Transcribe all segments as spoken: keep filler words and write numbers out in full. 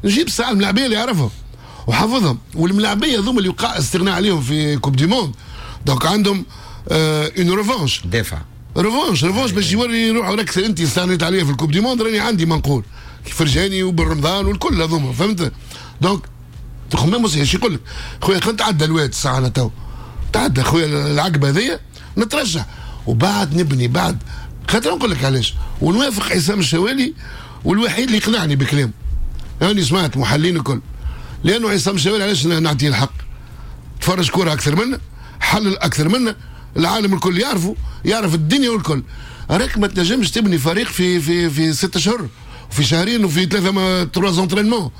نجيب ساعة الملاعبيه اللي يعرفهم وحافظهم، والملاعبيه هذوما اللي وقع استغناء عليهم في coupe du monde، donc عندهم une revanche. دافع. revanche revanche باش يوري روحه راك انت استغنيت عليا في ال coupe du monde، راني عندي ما نقول، فرجاني وبالرمضان والكل هذوما، فهمت؟ donc تخمام صحيح، يقول لك خويا خلينا نتعدى الواد الساعة، انا تو تعدى خويا العقبة هذيا نترشح وبعد نبني بعد. خاطر نقول لك علاش ونوافق عصام الشوالي، والوحيد اللي يقنعني بكلامه، يعني سمعت محللين الكل، لانه عصام الشوالي علاش نعطيه الحق؟ تفرج كورة اكثر منا، حلل اكثر منا، العالم الكل يعرفه، يعرف الدنيا والكل. راك ما تنجمش تبني فريق في في في ست اشهر وفي شهرين وفي ثلاثة trois entraînements،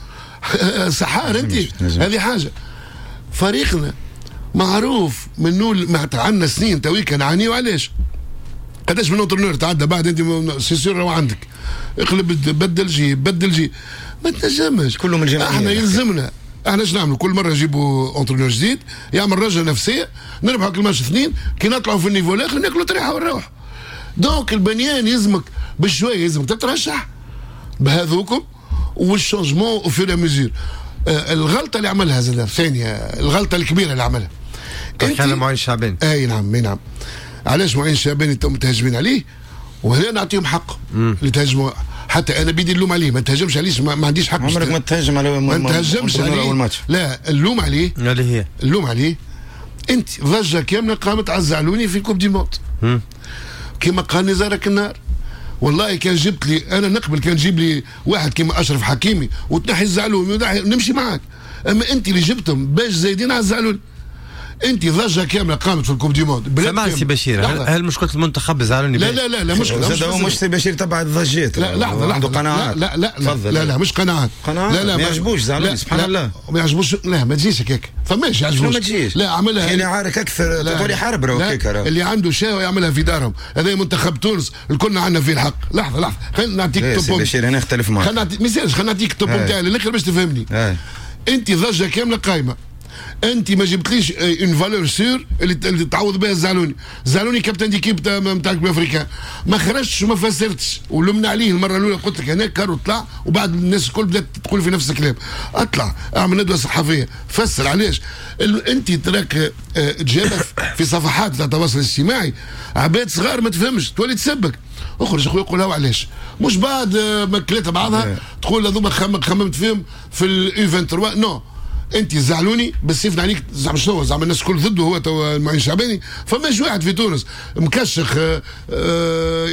سحار انت. هذه حاجه. فريقنا معروف من نول، عندنا سنين تويكا نعانيو. علاش؟ قداش من entraîneur تعدى بعد انت c'est sûr عندك اقلب بدل جي بدل جي، ما تنجمش. كله من الجماهير. احنا يلزمنا احنا ايش نعملوا؟ كل مرة نجيبوا entraîneur جديد يعمل رجعه نفسيه، نربحوا كل ماتش اثنين، كي نطلعوا في ال niveau الاخر ناكلوا طريحه ونروح. donc البنيان يلزمك بشويه، يلزمك تترشح بهذوكم وال changement au fur et à mesure. الغلطة اللي عملها زاد ثانيه، الغلطة الكبيرة اللي عملها انت معين الشعباني. اي نعم اي نعم. علاش معين الشعباني تو متهاجمين عليه؟ وهنا نعطيهم حق اللي تهاجموا، حتى انا بيدي اللوم عليه، ما تهاجمش عليه، ما, ما عنديش حق. عمرك ما تهاجم على ما تهاجمش عليه اول ماتش. لا اللوم عليه اللي هي اللوم عليه انت ضجه كاملة قامت على الزعلوني في coupe du monde كما قال نزارك النهار. والله كان جبت لي انا نقبل، كان جيب لي واحد كيما اشرف حكيمي وتنحي الزعلوني نمشي معاك، اما انت اللي جبتهم باش زايدين على الزعلوني. انت ضجه كاملة قامت في ال coupe du monde. سامحني سي بشير، هل, هل مشكلة المنتخب زعلوني؟ لا لا لا لا مشكلة مش هو مش سي بشير تبع الضجات. لا لحظة لحظه، عنده قناعات. لا لا لا لا, لا, لا مش قناعات. قناعات لا لا ما يعجبوش زعلوني، سبحان الله ما يعجبوش. لا ما تجيش هكاك، فماش يعجبوش. ما تجيش. لا عملها اللي عارك اكثر تولي حرب هكاك. اللي عنده شهوة يعملها في دارهم، هذا منتخب تونس الكل عندنا فيه الحق. لحظة لحظة خلينا نعطيك سي بشير انا اختلف معك. خلينا نعطيك ما خلينا نعطيك ال topo نتاعي للاخر باش تفهمني. انت ضجه كاملة قايمة، انت ما جبتليش une valeur sûre اللي, اللي تعوض بها الزعلوني. الزعلوني capitaine d'équipe نتاع coupe africaine، ما خرجتش وما فسرتش ولمنا عليه المرة الاولى. قلت لك هناك كارو طلع وبعد الناس الكل بدات تقول في نفس الكلام. اطلع اعمل ندوه صحفية فسر علاش انت تراك تجابه في صفحات تاع التواصل الاجتماعي عباد صغار ما تفهمش تولي تسبك. اخرج اخويا قولها وعلاش، مش بعد ما كليت بعضها تقول هذوما خممت فيهم في ال U ثلاثة وعشرين. non انت زعلوني بالسيف عليك، زعما شنو؟ زعما الناس الكل ضده هو تو المعين الشعباني. فماش واحد في تونس مكشخ اه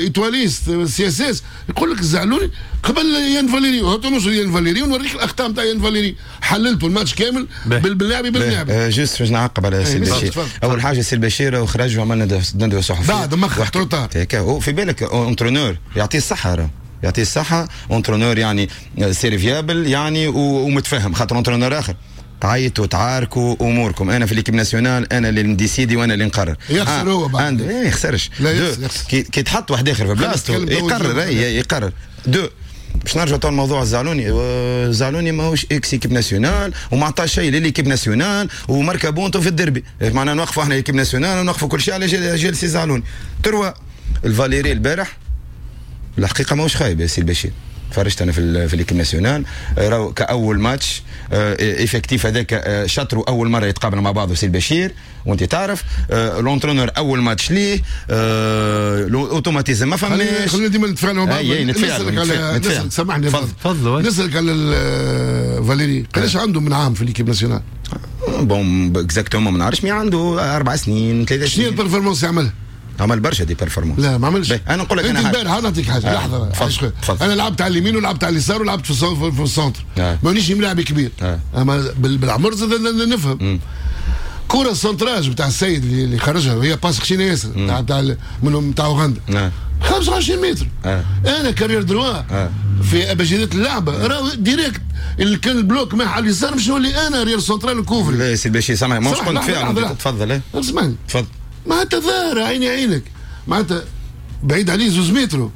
étoiliste CSS يقول لك زعلوني قبل يان فاليري. هاتوا نوصل يان فاليري ونوريك الاخطاء نتاع يان فاليري، حللته الماتش كامل باللاعب باللاعب. juste باش نعقب على سي البشير. اول حاجة سي البشير وخرج وعملنا ندوه صحفية بعد مخ trop tard. في بالك entraîneur يعطيه الصحة، يعطيه الصحة entraîneur يعني serviable يعني ومتفهم، خاطر entraîneur اخر تعيطوا تعاركوا اموركم. انا في l'équipe nationale انا اللي ن décider وانا اللي نقرر. يخسر هو بعد. عنده ايه يخسرش. كي, كي تحط واحد اخر في بلاصته يقرر، اي يقرر. deux باش نرجع تو الموضوع الزعلوني، الزعلوني ماهوش ex équipe nationale وما عطى شيء ل l'équipe nationale وماركا بونتو في الدربي، معناها نوقفوا احنا l'équipe nationale ونوقفوا كل شيء على جال سي زعلوني. trois الفاليري البارح الحقيقة ماهوش خايب يا سي البشير، تفرجت انا في في l'équipe nationale راهو كاول ماتش effectif هذاك شطرو اول مرة يتقابل مع بعض سي البشير وانت تعرف l'entraîneur اول ماتش ليه l'automatisme ما فماش. خلينا ديما نتفاعلوا مع بعض. نتفاعلوا نتفاعلوا. سامحني تفضل تفضل. نسالك على فاليري قداش عنده من عام في l'équipe nationale؟ bon exactement ما نعرفش، mais عنده اربع سنين ثلاث سنين. شنو ال performance يعملها؟ عمل برشا des performances. لا ما عملش. انا نقول لك انا البارح انا نعطيك حاجة آه. لحظة تفضل. انا لعبت على اليمين ولعبت على اليسار ولعبت في في ال centre آه. مانيش ملاعب كبير آه. اما بالعمر زاد نفهم. كرة ال centrage بتاع السيد اللي خرجها هي passe خشينه ياسر بتاع بتاع من بتاع اوغندا آه. خمسة وعشرين متر آه. انا ك arrière droit آه. في ابجديات اللعبة راهو direct اللي كان ال bloc مع على اليسار مش نولي انا arrière central ن couvrir. لا سي البشير سامح مش كنت فعلا تفضل. اسمعني تفضل. معناتها ظاهره عيني عينك، معناتها بعيد عليه زوز متر.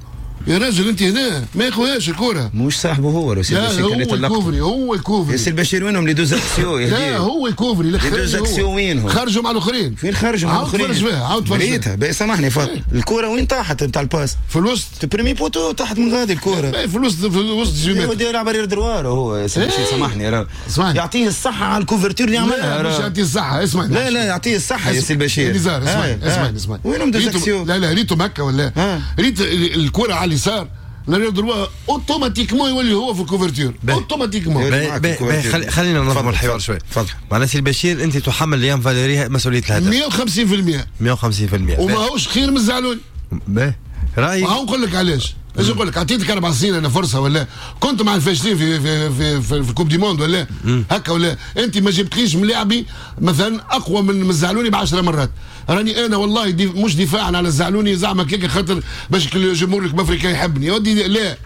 يا راجل انت هنا ما ياخذهاش الكره. مش صاحبه هو لا هو ال couvrir، هو ال couvrir. يا سي البشير وينهم les deux axiaux؟ لا هو ال couvrir، les deux axiaux وينهم؟ خرجوا مع الاخرين. فين خرجوا مع الاخرين؟ عاود تفرج فيها، عاود تفرج فيها. ريتها سامحني فاضل، الكره وين طاحت نتاع ال passe؟ في الوسط premier poteau طاحت من غادي الكره. في الوسط، في الوسط جيمات. يلعب arrière droit هو يا سي البشير سامحني راه. يعطيه الصحة على ال couverture اللي عملها. مش يعطيه الصحة، اسمعني. لا لا يعطيه الصحة يا سي البشير. نزار اسمعني اسمعني اسمعني. وينهم deux axiaux؟ لا لا ريتهم هكا ولا؟ ريت الكره على اليسار l'arrière droit automatiquement يولي هو في ال couverture automatiquement. خلينا ننظموا الحوار شوي. تفضل. معناها سي البشير انت تحمل ليان فاليري مسؤولية الهدف مية وخمسين بالمية. مية وخمسين بالمية وماهوش خير من الزعلوني. باهي رايك هاو نقول لك علاش. ايش نقول لك؟ عطيتك اربع سنين انا فرصة ولا كنت مع الفاشلين في في في في, في coupe du monde ولا هكا ولا انت ما جبتليش ملاعبي مثلا اقوى من الزعلوني بعشر مرات. راني انا والله دي مش دفاعا على الزعلوني زعما كيك خاطر باش الجمهور الافريقي يحبني يا ودي، لا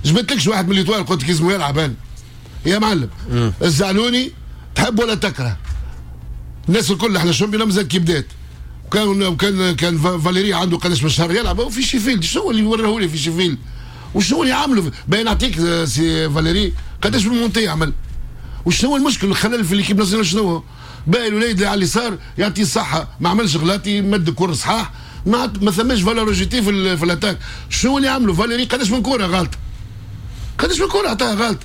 جبتلكش واحد من l'Étoile قلت لك اسمه يلعب انا يا معلم. مم. الزعلوني تحب ولا تكره الناس الكل احنا ال championnat مازال كي بدات وكان وكان كان فاليري عنده قداش من شهر يلعب وفي شيفيلد. شنو اللي وراه لي في شيفيلد وشنو اللي عمله؟ باين نعطيك سي فاليري قداش من montée عمل وشنو المشكل الخلل في l'équipe nationale شنو هو؟ باقي الوليد اللي على اليسار يعطيه الصحة ما عملش غلاطي مد كور صحاح ما ما ثماش valeur ajoutée في في l'attaque. شنو اللي عمله فاليري؟ قداش من كورة غلط، قداش من كورة عطاها غلط.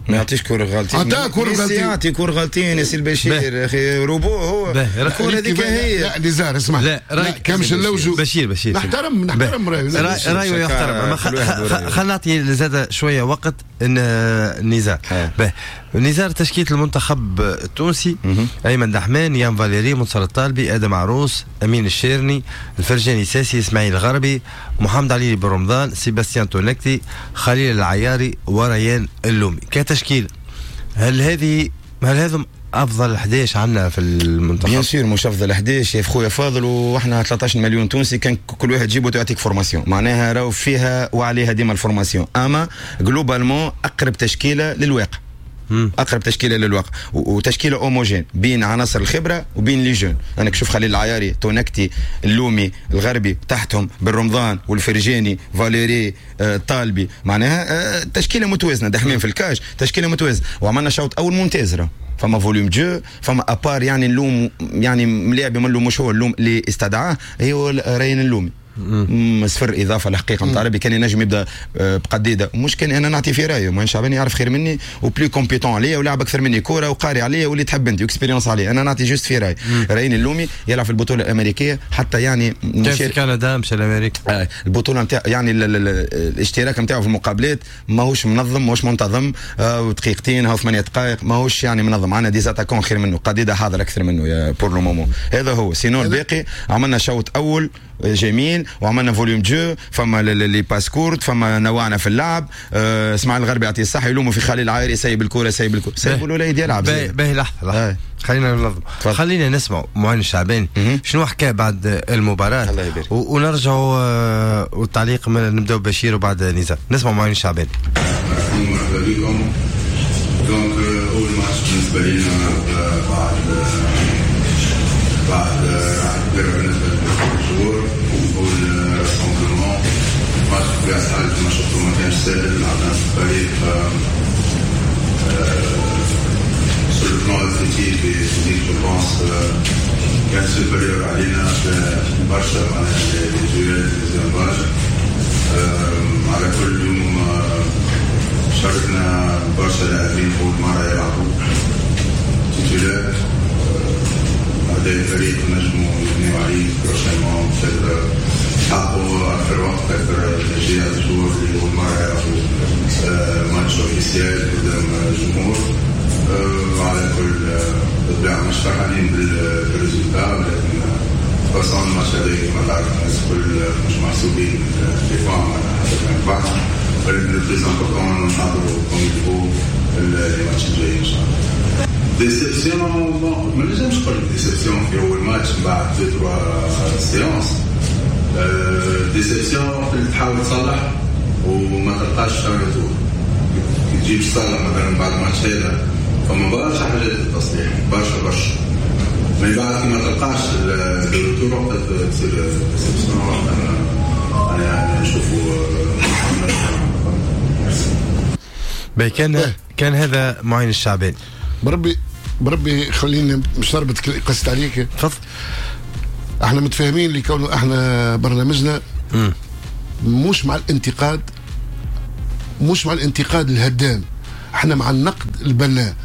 ما يعطيش كورة غلطين، عطاه كورة غلطين، يعطي كورة غلطين يا سي البشير يا اخي روبو هو الكورة هذيك هي. لا نزار اسمع، لا كان مش اللوجو بشير بشير نحترم نحترم رايه رايه يحترم. خلينا نعطي زاد شوية وقت نزار. باهي نزار تشكيله المنتخب التونسي: ايمن دحمان، يان فاليري، منصر الطالبي، ادم عروس، امين الشيرني، الفرجاني ساسي، اسماعيل الغربي، محمد علي بن رمضان، سيباستيان تونكتي، خليل العياري، وريان اللومي. كتشكيله هل هذه هل هذم افضل أحد عشر عندنا في المنتخب؟ bien sûr مش افضل أحد عشر يا خويا فاضل، واحنا ثلاثة عشر مليون تونسي كان كل واحد تجيبه تعطيك formation، معناها راهو فيها وعليها ديما ال formation، اما globalement اقرب تشكيله للواقع. مم. اقرب تشكيله للواقع وتشكيله homogène بين عناصر الخبرة وبين les jeunes. انا كشوف خليل العياري، تونكتي، اللومي، الغربي، تحتهم بالرمضان والفرجاني، فاليري، آه، طالبي، معناها آه، تشكيله متوازنة. دحمين في ال cage تشكيله متوازنة، وعملنا شوط اول ممتاز راه. فما volume de jeu، فما à part يعني اللوم يعني ملاعب من اللوم مش هو اللوم اللي استدعاه هو ريان اللومي صفر اضافه الحقيقة نتاع ربي. كان ينجم يبدا بقديده، مش كان انا نعطي في رايه، معين شعباني يعرف خير مني و plus compétent عليا ولعب اكثر مني كورة وقاري عليا واللي تحب انت و expérience عليا، انا نعطي juste في راي. ريان اللومي يلعب في البطولة الامريكية حتى يعني كان في كندا مشى لامريكا. آه البطولة نتاع يعني ال ال الاشتراك نتاعو في المقابلات ماهوش منظم، ماهوش منتظم، آه دقيقتين او ثمانية دقائق ماهوش يعني منظم. عندنا des attaquants خير منه، قديده حاضر اكثر منه يا pour le moment. هذا هو sinon الباقي عملنا شوط اول جميل وعملنا volume de jeu، فما les passes courtes، فما نوعنا في اللعب. آه اسماعيل الغربي يعطيه الصحة يلوموا في خليل العايري سايب الكورة سايب الكورة سايب الوليد يلعب. باهي لحظة لحظة خلينا ننظم، خلينا نسمع معين الشعباني شنو حكى بعد المباراة الله يبارك، ونرجعوا والتعليق نبداو بشير وبعد نزار. نسمع معين الشعباني. مرحبا بكم. donc اول ماتش بالنسبة لنا بعد بعد راحة كبيرة بالنسبة للجمهور وال rassemblement. ماتش بطبيعة الحال كما شفتوا ما كانش ساهل، لعبنا في فريق sur le plan athlétique et physique je pense كان supérieur علينا برشا، معناها les duels les échanges. على كل يوم شاركنا برشا لاعبين أول مرة يلعبوا titulaires. هذا الفريق نجموا يبنيو عليه prochainement، يحققوا أكثر وقت أكثر تشجيع الجمهور اللي أول مرة يلعبوا match officiel قدام الجمهور. على كل بالطبيعة مش فرحانين بال résultat، ولكن façon الماتش هذا كما تعرف الناس الكل مش محسوبين les points حتى كان ربحنا، ولكن le plus important نحضروا comme il faut les matchs الجايين ان شاء الله. déception bon ما نجمش نقول déception في اول ماتش بعد deux trois séances. déception اللي تحاول تصلح وما تلقاش retour. كي تجي تصلح مثلا بعد الماتش هذا فما برشا حاجات للتصليح، برشا برشا، من بعد كي ما تلقاش ال retour وقتها تصير déception، وقتها معناها نشوفوا. باهي كان كان هذا معين الشعباني. بربي بربي خليني مش نربط قصة عليك. تفضل. احنا متفاهمين اللي كونه احنا برنامجنا م. مش مع الانتقاد، مش مع الانتقاد الهدام، احنا مع النقد البناء.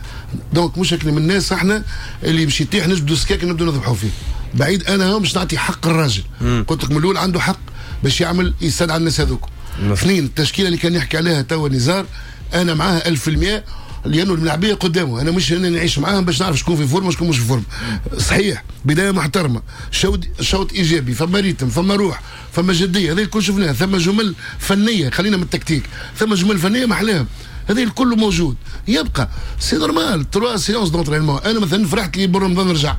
donc مش من الناس احنا اللي باش يطيح نجبدوا سكاك نبدو نذبحوا فيه. بعيد انا مش نعطي حق الراجل، قلت لك من الاول عنده حق باش يعمل يستدعى الناس هذوك. اثنين، التشكيلة اللي كان يحكي عليها توا نزار انا معاها ألف في المية، لانه الملاعبيه قدامه، انا مش انا نعيش معاهم باش نعرف شكون في forme وشكون مش في forme. صحيح بداية محترمه، شوط شوط ايجابي، فما rythme، فما روح، فما جدية، هذا الكل شفناه، ثم جمل فنية، خلينا من التكتيك، ثم جمل فنية محلاهم، هذا الكل موجود. يبقى c'est normal trois séances d'entraînement. انا مثلا فرحت لي برمضان رجع،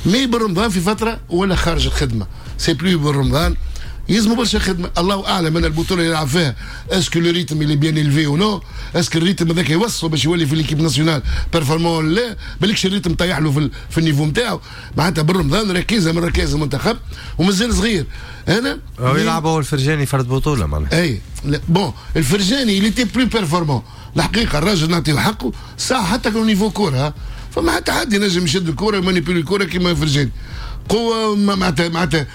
mais برمضان في فترة ولا خارج الخدمة، c'est plus برمضان يلزموا برشا خدمة. الله اعلم انا البطولة اللي يلعب فيها est-ce que le rythme il est bien élevé ou non، est-ce que ال rythme هذاك يوصلوا باش يولي في l'équipe nationale performant، لا بالكش ال rythme طيح له في, في ال niveau نتاعو. معناتها بالرمضان ركيزة من ركائز المنتخب ومازال صغير. انا هو يلعب هو الفرجاني فرد بطوله معناها. اي bon الفرجاني il était plus performant الحقيقة، الراجل نعطيه حقه ساعة حتى كان niveau كورة، فما حتى حد ينجم يشد الكورة و manipuler الكورة كيما الفرجاني. قوة معناتها معناتها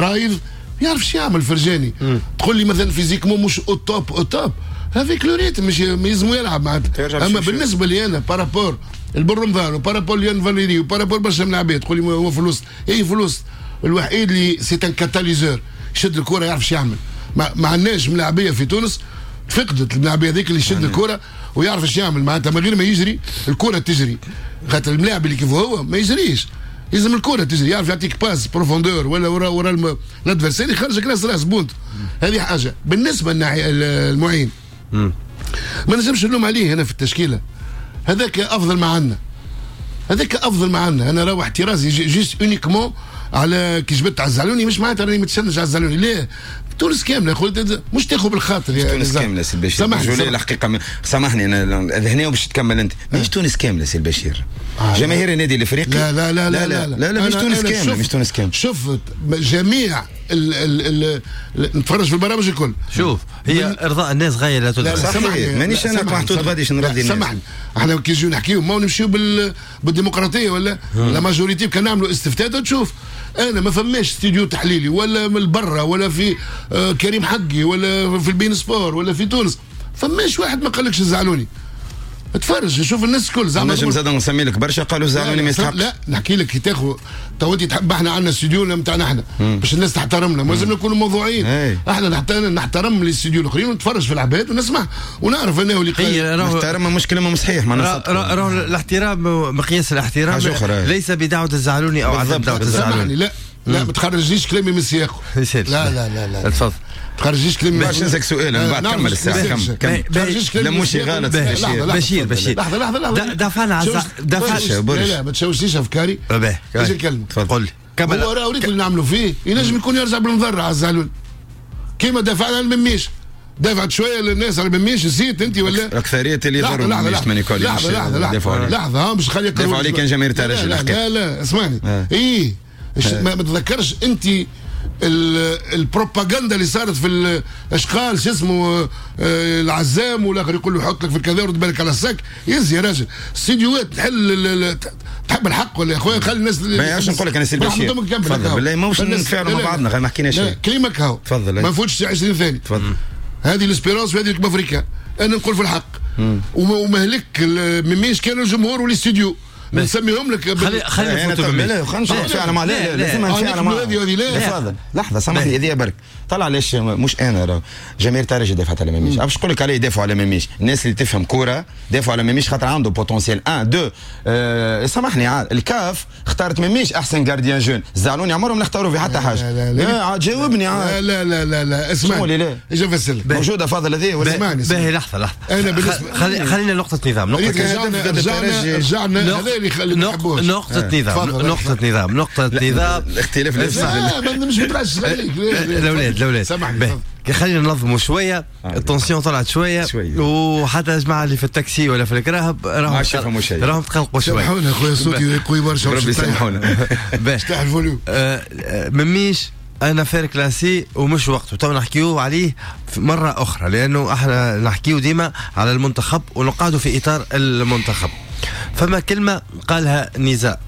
رايض يعرف شو يعمل فرجاني. تقول لي مثلا physiquement مش au top au top avec le rythme مش يلزمو يلعب معناتها. اما بالنسبة لي انا par rapport البن رمضان و par rapport ليان فاليري و par rapport برشا من العباد تقول لي هو في الوسط، اي في الوسط الوحيد اللي c'est un catalyseur يشد الكره يعرف شو يعمل. ما, ما عندناش ملاعبيه في تونس فقدت الملاعبيه هذيك اللي يشد الكره ويعرف ايش يعمل، معناتها من غير ما يجري الكره تجري، خاطر الملاعب اللي كيف هو ما يجريش، لازم الكره تجري، يعرف يعطيك passe profondeur ولا ورا ورا l'adversaire يخرجك راس راس but. هذه حاجة. بالنسبة للمعين ما نجمش نلوم عليه هنا في التشكيلة، هذاك افضل ما عندنا، هذاك افضل ما عندنا. انا راهو احترازي juste uniquement على كي جبت على الزعلوني، مش معناتها راني متشنج على الزعلوني، لا تونس كاملة خويا، مش تاخذ بالخاطر يا تونس كاملة سي البشير. سامحني الحقيقة م... سامحني انا هنا وباش تكمل انت، ماهيش تونس كاملة سي البشير. آه جماهير النادي الافريقي لا لا لا لا لا لا, لا, لا مش تونس كاملة، مش تونس كاملة. شفت جميع ال ال ال نتفرج في البرامج الكل. شوف هي ارضاء الناس غاية لا تدرك. سامحني مانيش انا محطوط غادي نرضي الناس. سامحني احنا كي نجيو نحكيو ما نمشيو بال بالديمقراطية ولا la majorité، كان نعملوا استفتاء تشوف. انا ما فماش استوديو تحليلي ولا من برا ولا في آه كريم حقي ولا في البين سبور ولا في تونس، فماش واحد ما قالكش الزعلوني. تفرج شوف الناس الكل زعما نجم زاد نسمي لك برشا قالوا زعلوني ما يستحقش. لا نحكي لك كي تاخذ تو انت تحب احنا عندنا استوديو نتاعنا احنا باش الناس تحترمنا، لازم نكونوا موضوعيين. احنا نحترم الاستوديو الاخرين ونتفرج في العباد ونسمع ونعرف انه اللي قال نحترم مش كلمة صحيح. راهو الاحترام مقياس الاحترام ليس بدعوة الزعلوني او عدم دعوه الزعلوني. لا لا ما تخرجيش كلامي من سياقه. لا لا لا لا تفضل. تخرجيش كلامي. باش نسالك سؤال من بعد كمل الساعة. كمل كمل. لا مش غلط بشير بشير. لحظة لحظة لحظة. دافعنا على دافعنا. لا لا ما تشوشيش افكاري. باهي نكلمك. تفضل. كمل. هو راه اللي نعملوا فيه ينجم يكون يرجع بالمضره على الزعلول. كيما دافعنا على المميش. دافعت شوية للناس على المميش نسيت انت ولا؟ الاكثرية اللي يضروا المميش ماني كولي. لحظة لحظة لحظة لحظة مش خليك دافعوا عليه كان جماهير الترجي. لا لا اسمعني. اي ما تتذكرش انت البروباغندا اللي صارت في الاشقال شو اسمه العزام والاخر يقول له حط لك في الكذا ورد بالك على الساك. يزي يا راجل استديوهات تحل تحب الحق ولا يا خويا خلي الناس. ما عرفتش نقول لك انا سي البشير تفضل بالله ماهوش نتفاعلوا مع بعضنا غير ما حكينا شيء. كلمك هاو تفضل ما نفوتش عشرين ثانية. تفضل. هذه l'Espérance وهذه ال Club Africain انا نقول في الحق ومهلك مميش كانوا الجمهور والاستديو نسميهم لك. خلي خلي نفوتوا لا خلينا نتفاعلوا مع لا لازم نتفاعلوا مع هذه. تفضل لحظة سامحني هذه برك طلع علاش مش انا راه جماهير الترجي دافعت على مميش. باش نقول لك عليه يدافعوا على مميش الناس اللي تفهم كورة دافعوا على مميش خاطر عنده potentiel واحد اثنين. أه سامحني عاد الكاف اختارت مميش احسن gardien jeune، الزعلوني عمرهم ما اختاروا في حتى حاجة. لا لا عاد جاوبني عاد. لا لا لا لا اسمعني لا اجا نفسر لك موجودة فاضل هذه ولا اسمعني. باهي لحظة لحظة انا بالنسبة خلينا نقطة نظام نقطة رجعنا رجعنا نقطة نظام نقطة نظام نقطة نظام الاختلاف لا ما مش مترشح عليك. الأولاد الأولاد سامحني خلينا ننظموا شوية. ال tension طلعت شوية, شوية. وحتى الجماعة اللي في التاكسي ولا في الكراهب راهم راهم تقلقوا شوية. سامحونا خويا صوتي قوي برشا ربي يسامحونا. باش تاع ال volume. مميش une affaire classée ومش وقته، تو نحكيو عليه مرة اخرى، لانه احنا نحكيو ديما على المنتخب ونقعدوا في اطار المنتخب. فما كلمة قالها نزار،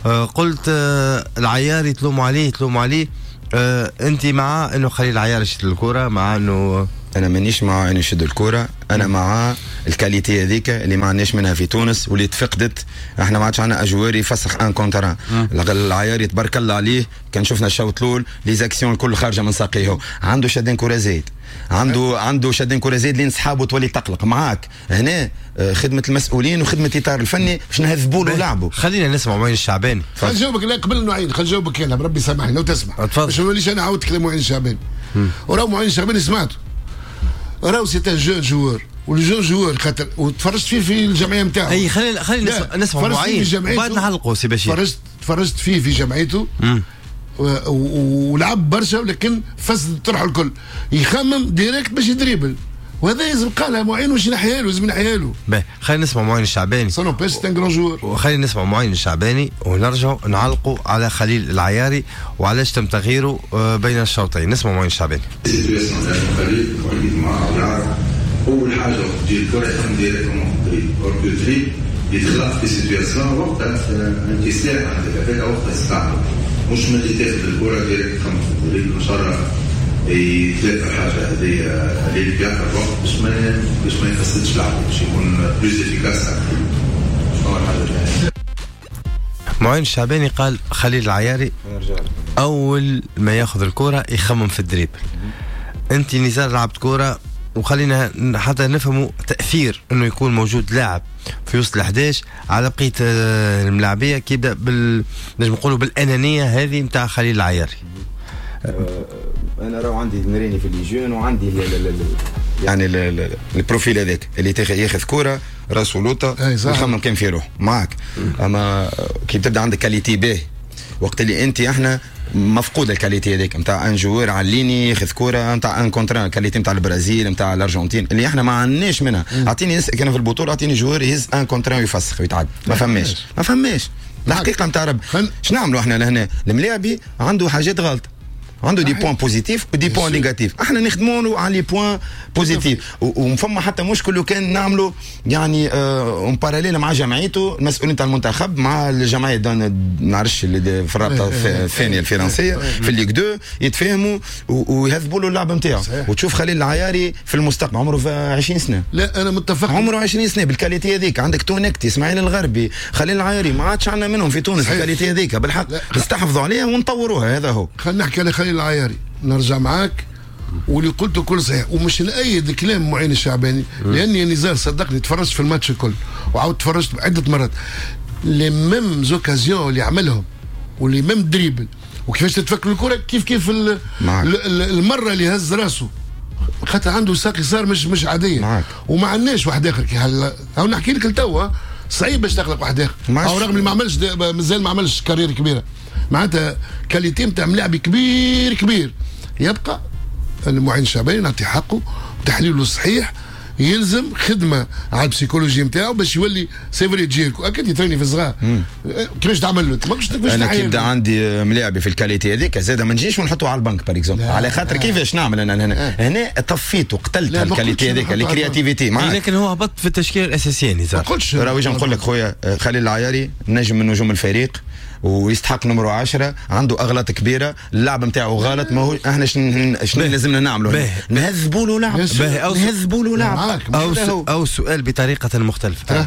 آه قلت آه العياري تلوموا عليه تلوموا عليه، آه انت مع انه خليل العياري يشد الكره؟ مع انه انا مانيش مع انه يشد الكره، انا مع ال qualité هذيك اللي ما عندناش منها في تونس واللي تفقدت. احنا ما عادش عندنا joueur يفسخ un contre un. العياري تبارك الله عليه، كان شفنا الشوط الاول les actions الكل خارجه من ساقيه، عنده شدين كره زايد، عنده عنده شدين كره زايد لين صحابه تولي تقلق معاك. هنا خدمة المسؤولين وخدمه الاطار الفني باش نهذبوا له لعبه. خلينا نسمع معين الشعباني. خلينا نجاوبك، لا قبل معين خلينا نجاوبك انا بربي سامحني لو تسمح، باش ما نوليش انا عاودت كلام معين الشعباني. وراو معين الشعباني سمعته، راهو c'est un jeune joueur، وال jeune joueur خاطر وتفرجت فيه في الجمعية نتاعو. اي خلينا خلينا نسمع معين بعد نعلقوا سي بشير. تفرجت تفرجت فيه في جمعيته ولعب برشا، ولكن فسد الطرح الكل، يخمم direct باش يدريبل، وهذا لازم قالها معين واش ينحيها له، لازم ينحيها له. باهي خلينا نسمع معين الشعباني. ça n'empêche c'est un grand joueur. وخلينا نسمع معين الشعباني ونرجعوا نعلقوا على خليل العياري وعلاش تم تغييره بين الشوطين. نسمع معين الشعباني. اول حاجة وقت تجي الكره يخمم directement في ال dribble، or que dribble يتخلق في situation وقتها انت سلاح عندك هذاك وقتها تستعمل، مش من اللي تاخذ الكره direct تخمم في ال dribble. ان شاء الله يتلاقى الحاجة هذه اللي في اخر الوقت باش ما باش ما يفسدش لعبه، باش يكون plus efficace. شنو الحاجة؟ معين الشعباني قال خليل العياري اول ما ياخذ الكره يخمم في ال dribble. انت نزار لعبت كره، وخلينا حتى نفهموا تاثير انه يكون موجود لاعب في وسط الأحداش على بقية الملاعبيه، كي يبدا بال نجم نقولوا بالانانية هذه نتاع خليل العياري. انا راهو عندي نريني في les jeunes وعندي ال ال يعني ال ال profil هذاك اللي ياخذ كورة راسه لوطه ويخمم كان في روحه معاك. اما كي تبدا عندك qualité باهي، وقت اللي انت احنا مفقود ال qualité هذيك نتاع un joueur على ال ligne ياخذ كورة نتاع un contre un، qualité نتاع البرازيل نتاع الارجنتين اللي احنا ما عندناش منها. اعطيني كان في البطولة اعطيني joueur يهز un contre un ويفسخ ويتعدى، ما فماش ما فماش الحقيقة نتاع رب. شنو نعملوا احنا لهنا؟ الملاعبي عنده حاجات غلط، عنده des points positifs و des points négatifs، احنا نخدموا على les points positifs، وفما حتى مشكل لو كان نعملوا يعني en parallèle مع جمعيته المسؤولين تاع المنتخب مع الجمعية نعرفش اللي في الرابطة الثانية الفرنسية في ال Ligue اثنين يتفاهموا ويهذبوا له اللعب نتاعو. وتشوف خليل العياري في المستقبل عمره عشرين سنة. لا انا متفق، عمره عشرين سنة بال qualité هذيك. عندك تونكتي، اسماعيل الغربي، خليل العياري، ما عادش عندنا منهم في تونس ال qualité هذيك بالحق، نستحفظوا عليها ونطوروها. هذا هو. خلينا نحكي على خليل العياري، نرجع معاك واللي قلته كل صحيح، ومش نأيد كلام معين الشعباني لاني نزار صدقني تفرجت في الماتش الكل وعاود تفرجت عده مرات، les mêmes occasions اللي عملهم و les mêmes dribbles وكيفاش تتفكر الكره كيف كيف المرة اللي هز راسه خاطر عنده ساق يسار مش مش عادية. معاك. وما عندناش واحد اخر كي هلا نحكي لك لتوا صعيب باش تخلق واحد اخر، او رغم اللي ما عملش مازال ما عملش carrière كبيرة، معناتها qualité نتاع ملاعب كبير كبير. يبقى المعين الشعباني نعطي حقه وتحليله الصحيح، يلزم خدمة على ال psychologie نتاعو باش يولي c'est vrai تجيركو اكيد يتريني في الصغار كيفاش تعمل له ماكش كيفاش. انا كي يبدا عندي ملاعبي في ال qualité هذيك زاد ما نجيش ونحطه على ال banc par exemple، على خاطر كيفاش نعمل انا هنا هنا طفيت وقتلت ال qualité هذيك ال créativité. لكن هو هبط في التشكيلة الاساسية نزار. راهو نقول لك خويا خليل العياري نجم من نجوم الفريق ويستحق نمرو عشرة، عنده اغلاط كبيرة، اللعب نتاعو غلط، ما هو احنا شنو شنو لازمنا نعملوا؟ نهذبوا له لعب، نهذبوا له لعب. او او سؤال بطريقة مختلفة،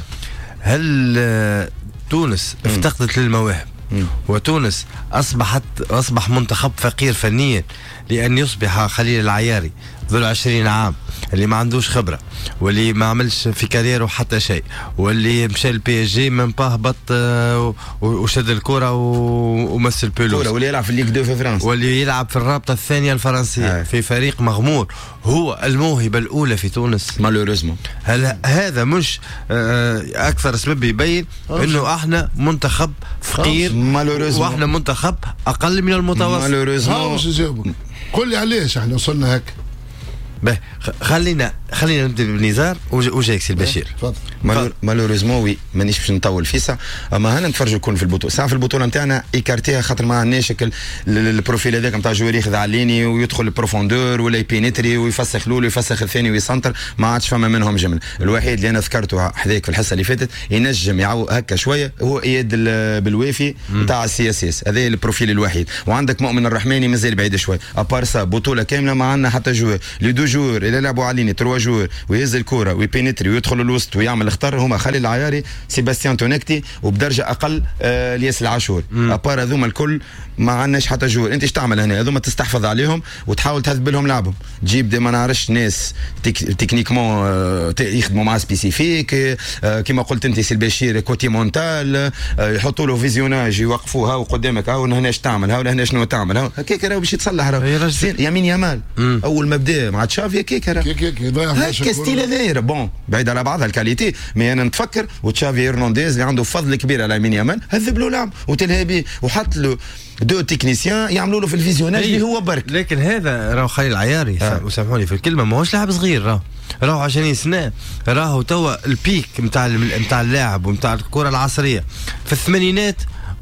هل تونس افتقدت للمواهب وتونس اصبحت اصبح منتخب فقير فنيا لان يصبح خليل العياري ذو العشرين عام اللي ما عندوش خبره واللي ما عملش في carrière و حتى شيء واللي مشى ال PSG même pas هبط وشد الكره ومس ال pelouse، واللي يلعب في ال Ligue اثنين في فرنسا، واللي يلعب في الرابطة الثانية الفرنسية آه. في فريق مغمور، هو الموهبة الاولى في تونس malheureusement. هل هذا مش اكثر سبب يبين انه احنا منتخب فقير واحنا منتخب اقل من المتوسط؟ malheureusement. قل لي علاش احنا وصلنا هكا؟ به خلينا خلينا نبدا بنزار وجايك سي البشير. تفضل. malheureusement oui مانيش باش نطول فيسا، اما هنا نتفرجوا الكل في البطولة، ساعة في البطولة نتاعنا écarté ها خاطر ما عندناش ال profil هذاك نتاع joueur ياخذ على ال ligne ويدخل ال profondeur ولا ي pénétrer ويفسخ الاول ويفسخ الثاني ويسنتر، ما عادش فما منهم جمل. الوحيد اللي انا ذكرته حذاك في الحصة اللي فاتت ينجم يعو هكا شوية هو اياد بالوافي نتاع ال CSS، هذا ال profil الوحيد. وعندك مؤمن الرحماني مازال بعيد شوي. à part ça بطوله كاملة ما عندنا حتى joueur، les deux joueurs اللي لعبوا على ligne trois joueurs ويهز الكره وي pénétrer ويدخل الوسط ويعمل خطر هما خليل العياري، سيباستيان تونكتي، وبدرجه اقل آه الياس العاشور. à part هذوما الكل ما عندناش حتى joueur. انت ايش تعمل هنا؟ هذوما تستحفظ عليهم وتحاول تهذب لهم لعبهم، تجيب des ما نعرفش ناس tech techniquement آه يخدموا مع spécifique آه كيما قلت انت سي البشير côté mental، آه يحطوا له visionnage يوقفوه هاو قدامك، هاو هنا ايش تعمل، هاو هنا شنو تعمل، هاو هكاك راهو باش يتصلح. راهو يمين يامال اول ما بدا مع تشافي هكاك راهو هكا style هذايا bon بعيد على بعضها ال qualité، mais انا نتفكر وتشافي هرنانديز اللي عنده فضل كبير على يمين يامال هذب له لعب وتلهى به وحط له deux techniciens يعملوا له في ال visionnage اللي هو برك. لكن هذا راهو خليل العياري آه. وسامحوني في الكلمة ماهوش لاعب صغير، راهو راهو عشرين سنة، راهو توا ال pic نتاع نتاع اللاعب ونتاع الكره العصرية. في الثمانينات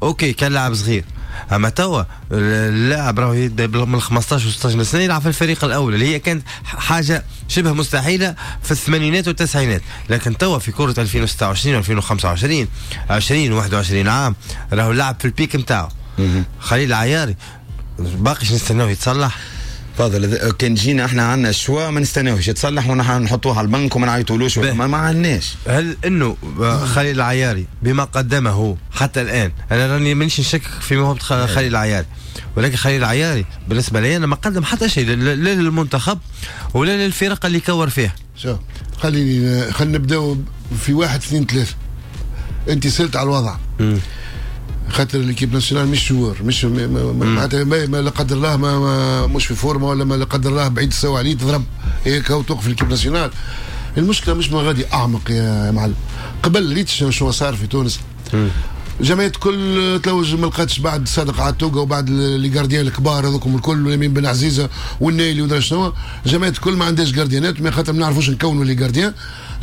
OK كان لاعب صغير، اما توا اللاعب راهو يبدا من خمسطاش و ستاش سنة يلعب في الفريق الاول اللي هي كانت حاجة شبه مستحيلة في الثمانينات والتسعينات، لكن توا في كره ألفين وستة وعشرين و ألفين وخمسة وعشرين عشرين وواحد وعشرين عام راهو اللاعب في ال pic نتاعو. خليل العياري باقيش نستناوه يتصلح؟ فاضل كان جينا احنا عندنا ال choix ما نستناوش يتصلح ونحن نحطوه على البنك وما نعيطولوش، ما, ما عندناش. هل انه خليل العياري بما قدمه حتى الان، انا راني مانيش نشكك في موهبة خليل العياري، ولكن خليل العياري بالنسبة لي انا ما قدم حتى شيء لا للمنتخب ولا للفرق اللي كور فيها. شوف خليني خلينا نبداو في واحد اثنين ثلاثة. انت سالت على الوضع. م. خاطر l'équipe nationale مش joueur، مش معناتها ما لا قدر الله ما, ما مش في forme ولا ما لا قدر الله بعيد السوا عليه تضرب هيك وتوقف l'équipe nationale. المشكلة مش ما غادي اعمق يا معلم. قبل ريت شنو صار في تونس، جمعيات كل تلوج ما لقاتش بعد صادق عتوقه وبعد les gardiens الكبار هذوكم الكل واليمين بن عزيزه والنايلي ودرا شنو، جمعيات كل ما عندهاش gardien ات، ما خاطر ما نعرفوش نكونوا les gardiens،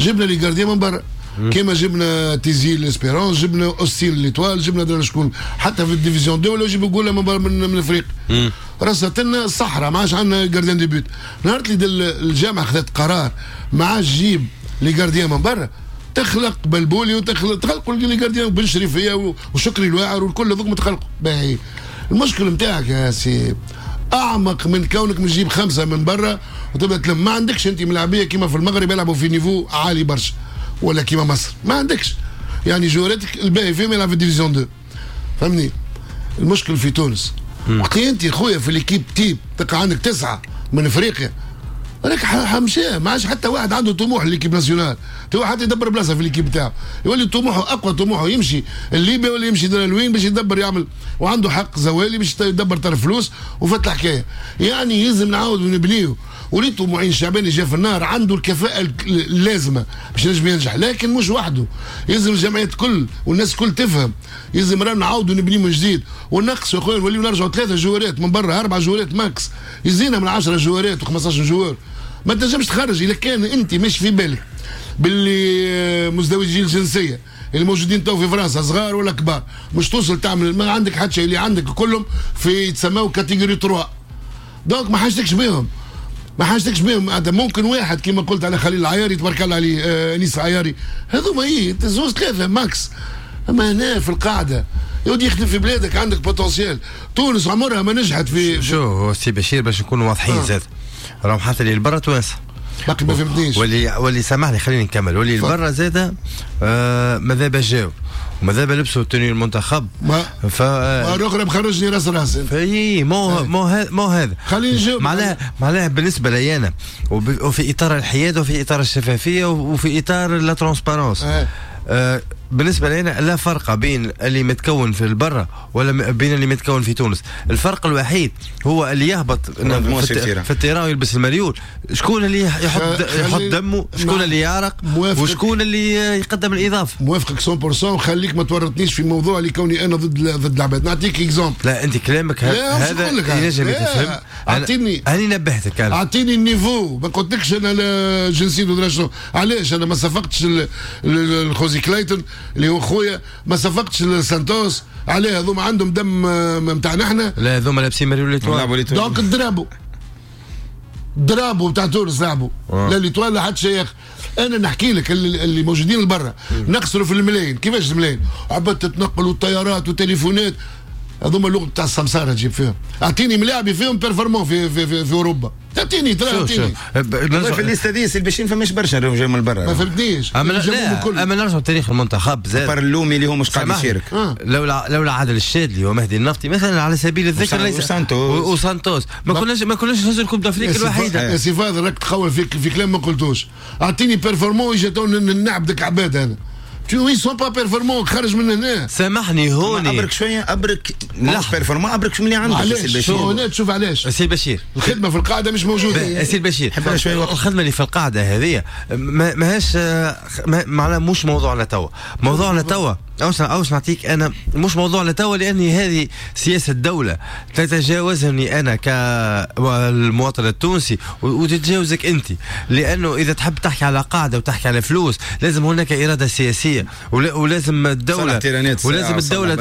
جبنا les gardiens من برا. كيما جبنا تيزي l'Espérance، جبنا اوستين l'Étoile، جبنا درنا شكون حتى في ال division deux ولا يجيبوا جوله من من, من الافريق. رصت لنا الصحراء ما عادش عندنا gardien de but. نهار اللي الجامعة خذت قرار ما عادش جيب les gardiens من برا، تخلق بلبولي وتخلق تخلقوا les gardiens بن شريفيه وشكري الواعر والكل هذوك متخلقوا. باهي المشكل نتاعك يا سي اعمق من كونك مش تجيب خمسة من برا وتبدا تلم. ما عندكش انت ملاعبيه كيما في المغرب يلعبوا في niveau عالي برشا ولا كيما مصر، ما عندكش يعني joueur اتك الباهي فيهم يلعب في division deux. فهمني؟ المشكل في تونس وقت انت خويا في l'équipe type تلقى عندك تسعة من افريقيا، راك حمشاه ما عادش حتى واحد عنده طموح l'équipe nationale، تو حتى يدبر بلاصة في l'équipe تاعو، يولي طموحه اقوى طموحه يمشي الليبيا ولا يمشي لوين باش يدبر يعمل، وعنده حق زوالي باش يدبر طرف فلوس وفات الحكاية. يعني يلزم نعاود ونبنيه. وريتو معين الشعباني جا في النار عنده الكفاءة اللازمة باش ينجم ينجح، لكن مش وحده، يلزم الجمعيات الكل والناس الكل تفهم، يلزم رانا نعاودوا نبني من جديد ونقصوا يا خويا، نوليو نرجعوا ثلاثة joueur ات من برا، أربعة joueur ات max، يزينا من عشرة joueur ات وخمسطاش joueur. ما تنجمش تخرج إذا كان أنت مش في بالك باللي مزدوجي الجنسية اللي موجودين تو في فرنسا صغار ولا كبار، مش توصل تعمل، ما عندك حتى شيء، اللي عندك كلهم في يتسموا catégorie ثلاثة، donc ما حاجتكش بهم. ما حاجتكش بهم. ممكن واحد كما قلت على خليل العياري تبارك الله عليه، آه انيس العياري، هذوما ايه زوز ثلاثة max. اما هنا في القاعدة يودي يخدم في بلادك عندك potentiel. تونس عمرها ما نجحت في شو هو سي بشير باش نكونوا واضحين آه. زاد راهم حتى اللي برا توانسة باقي ما فهمتنيش، واللي واللي سامحني خليني نكمل، واللي برا زاد آه ماذا باش جاو وماذا لبسوا tenue المنتخب ما ف الاخرى مخرجني راس راس اي مو مو هذا مو هذا خليني نجاوب معناها معناها بالنسبة لي انا وفي اطار الحياد وفي اطار الشفافية وفي اطار la transparence آه. آه بالنسبة لنا لا فرق بين اللي متكون في البرة ولا بين اللي متكون في تونس. الفرق الوحيد هو اللي يهبط في ال terrain ويلبس المريول، شكون اللي يحط يحط دمه، شكون اللي يعرق، وشكون اللي يقدم الاضافة. موافقك مية بالمية. خليك ما تورطنيش في موضوع اللي كوني انا ضد ضد العباد. نعطيك exemple. لا انت كلامك هذا ينجم يتفهم. اعطيني انا نبهتك، اعطيني ال niveau. ما قلتلكش انا جنسيته ولا شنو. علاش انا ما صفقتش الخوزي كلايتون اللي هو خويا، ما صفقتش لسانتوس؟ عليه هذوما عندهم دم نتاعنا احنا. لا هذوما لابسين مريول l'Étoile. donc ال drapeau drapeau نتاع تونس لعبوا لا l'Étoile لا حتى شيء. انا نحكي لك اللي, اللي موجودين لبرا نخسروا في الملايين. كيفاش الملايين؟ عباد تتنقل والطيارات والتليفونات، هذوما اللغة تاع السمساره تجيب فيهم. اعطيني ملاعبي فيهم performant في في في, في اوروبا، تعطيني ترى اعطيني في ال liste هذه سي البشير فماش برشا جاي من برا. ما فهمتنيش. اما اما نرجعوا لتاريخ المنتخب زاد بار اللومي اللي هو مش قاعد يشارك. آه. لولا لولا عادل الشادلي ومهدي النفطي مثلا على سبيل الذكر، ليس وسانتوس وسانتوس ما كناش ما كناش نهزوا ال Coupe d'Afrique الوحيدة. يا سي فاضل راك تخول في في كلام ما قلتوش. اعطيني performant يجي نعبدك عباد انا. ils sont pas performants خرج من هنا. سامحني هوني ابرك شوية، ابرك مش performant، ابرك شو اللي عندك سي البشير. هنا تشوف علاش سي البشير الخدمة في القاعدة مش موجودة. سي البشير الخدمة اللي في القاعدة هذه ماهيش معناها مش موضوعنا توا. موضوعنا توا اوش اوش نعطيك انا مش موضوعنا توا، لاني هذه سياسة الدولة تتجاوزني انا كالمواطن التونسي وتتجاوزك انت، لانه اذا تحب تحكي على قاعدة وتحكي على فلوس لازم هناك اراده سياسية، ولازم الدولة ولازم الدولة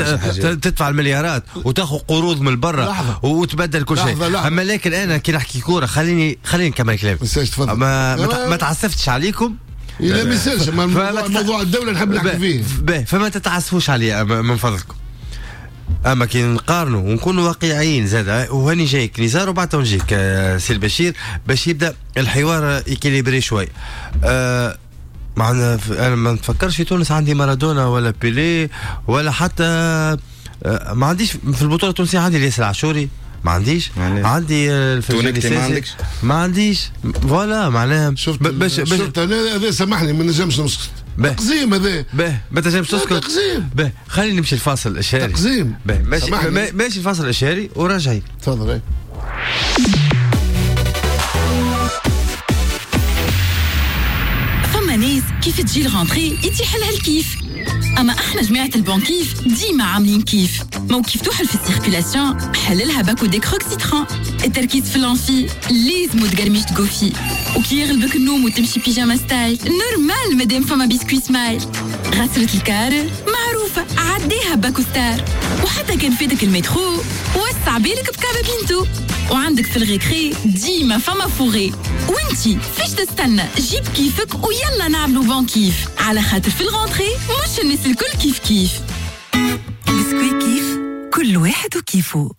تدفع المليارات وتاخذ قروض من برا وتبدل كل شيء. اما لكن انا كي نحكي كورة خليني خليني نكمل كلامي. ما ما تعسفتش عليكم. لا ما يسالش موضوع الدولة نحب نحكي فيه. باهي فما تتعسفوش عليا من فضلكم. اما كي نقارنوا ونكونوا واقعيين زاد، وهاني جايك نزار وبعد نجيك سي البشير باش يبدا الحوار équilibré شوي. أه معنا انا ما نتفكرش في تونس عندي مارادونا ولا بيلي ولا حتى ما عنديش في البطولة التونسية. عندي الياس العاشوري ما عنديش، عندي الفرجاني ما عندكش، ما عنديش voilà معناها. شفت باش شفت انا هذا سامحني ما نجمش نسكت. تقزيم هذا. باه ما تنجمش تسكت. تقزيم. باه خلينا نمشي الفاصل الاشهاري. تقزيم. باه ماشي ماشي الفاصل الاشهاري وراجعين. تفضل. فما ناس كيف تجي ال rentrée يتيح لها الكيف، اما احنا جماعة البنكيف ديما عاملين كيف. مو كيف توحل في ال circulation حللها باكو Décrox citron، التركيز في l'amphi لازم تقرميش تقوفي، وكي يغلبك النوم وتمشي pyjama style normal مادام فما biscuit Smile. غسلة الكار معروفة عديها باكو Star، وحتى كان فاتك المترو وسع بالك بكابا بينتو، وعندك في ال récré ديما فما fourré. وانتي فاش تستنى؟ جيب كيفك ويلا نعملو bon كيف، على خاطر في ال rentrée مش الناس الكل كيف كيف. بسكوي كيف كل واحد وكيفو.